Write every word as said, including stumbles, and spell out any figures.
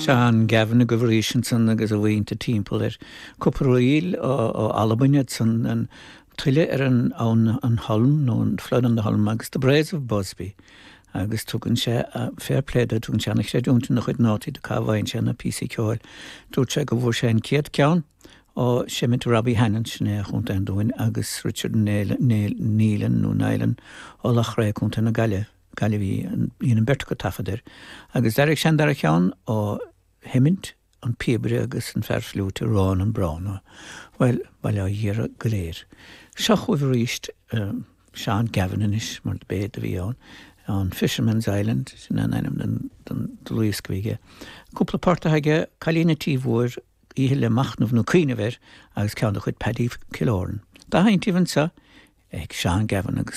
Seán Gavin a gohríis san agus a bhainte timpeall ar cúpla ríl ó Albain san an tuile ar an an an Holm nó an Flood on the Holm agus the Braes of Busby. agus tugann sé fair play dó tugann sé an-chreidiúint ina chuid nótaí do cá bhfaigheann sé na píosaí ceoil. Dúirt sé go bhfuair sé an chéad ceann ó Seimint Robbie Hannan sin é Chontae an Dúin agus Richard Nealon nó Nylan ó Loughrea Contae na Gaillimhe Gaillimh bhí an bheirt acu taifead air. Agus d'airigh sé an dara ceann ó Hemint an píobaire agus an fear fliúite Rónán Browne. Well bail ó Dhia orthu go léir. Seo chugaibh arís um, Seán Gavin anois mar b'é a bhí ann an Fisherman's Island sin an ainm den den dlúthdhiosca a bhí aige. Cúpla port aige Cailín an Tí Mhóir oíche le machnamh nó cuimhneamh air agus ceann de chuid Paddy Killoran. Dá sheinntibh anseo ag Seán Gavin agus